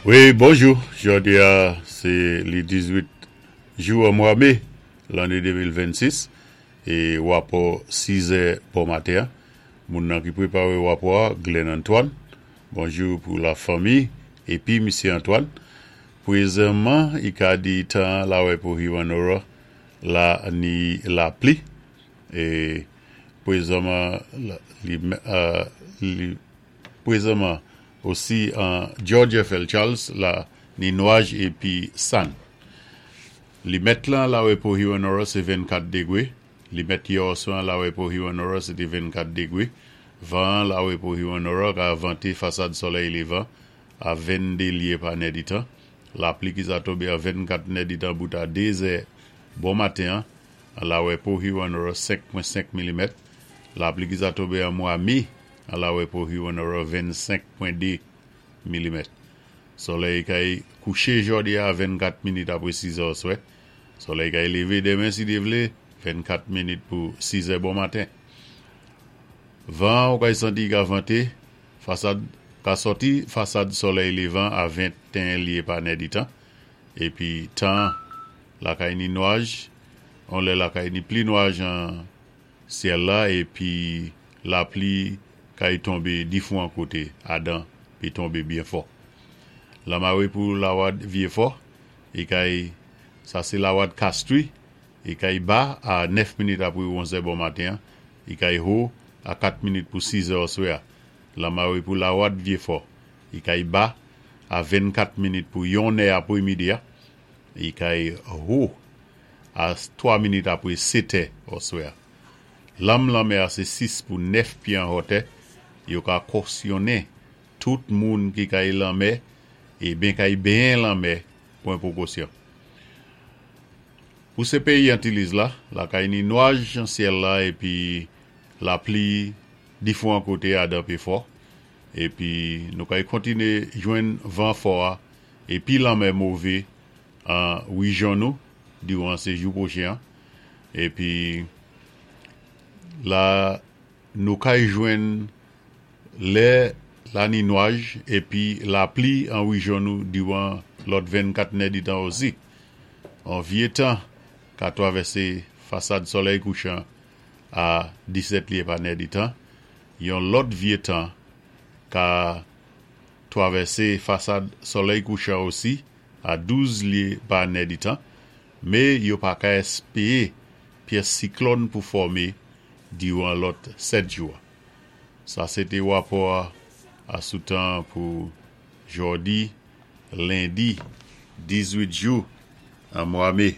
Wi, bonjou. Jòdi a sé li 18 jou an mwa mé lanné 2026 é wapò 6 zè bon maten an. Moun nan ki pwéparé wapò a, Glenn Antoine. Bonjou pou la fanmi épi Misye Antoine. Pwézanman i ka di tan an lawè pou Hewanorra la ni lapli é pwézanman li li Pwézanman osi an George FL Charles la ni nwaj épi sann. Limèt lan lawè pou Hewanorra sé 24 dégwé, limèt yè òswè an lawè pou Hewanorra sé té 24 dégwé, van an lawè pou Hewanorra ka vanté fasad sòlèy lévan a 22 lyé pa nèditan, lapli ki sa tonbé an 24 nèditan bout a 2 zè bon maten an an lawè pou Hewanorra 5.5 milimèt, lapli ki sa tonbé an mwa mé an lawè pou Hewanorra 25.2 milimèt. Sòlèy kay kouché jòdi a 24 minit apwé 6 zè òswè. Sòlèy kay lévé denmen si Dye vlé 24 minit pou 6 zè bon maten. Van an ou kay santi i ka vanté fasad ka sòti fasad sòlèy lévan a 21 lyé pa nèditan. Épi tan an lakay ni nwaj on lè lakay ni pli nwaj an Syèl la epi lapli kay tonbe difwan kote adan pi tonbe byen fò. Lamare pou lawad Vyefò e kay sa se lawad Castries e kay ba a 9 minit apre onzè bon maten an e kay ho a 4 minit pou sizè òswè a. Lamare pou lawad Vyefò e kay ba a 24 minit pou yonnè apre midi a e kay ho a 3 minit apre setè òswè a. Lanm lanmè a se 6 pou 9 pye an hòtè, yo ka kòsyonnen tout moun ki kay lanmè é ben kay benyen lanmè pwan pwokosyon. Pou sé péyi Antilliz la, lakay ni nwaj an syèl la épi lapli difwan koté adan pé fò, épi nou kay kontiné jwenn van fò a épi lanmè mové an wijyon nou diwan sé jou pwochen an épi la nou kay jwenn lè la ni nwaj épi lapli an wijyon nou diwan lòt 24 nèditan osi. On vye tan ka twavèsé fasad sòlèy kouchan a 17 lye pa nèditan, yon lòt vye tan ka twavèsé fasad sòlèy kouchan osi a 12 lye pa nèditan, mé yo pa ka èspéé pyès siklòn pou fòmé diwan lòt 7 jou a. Sa sé té wapò a sou tan an pou jòdi lendi 18 jou an mwa mé.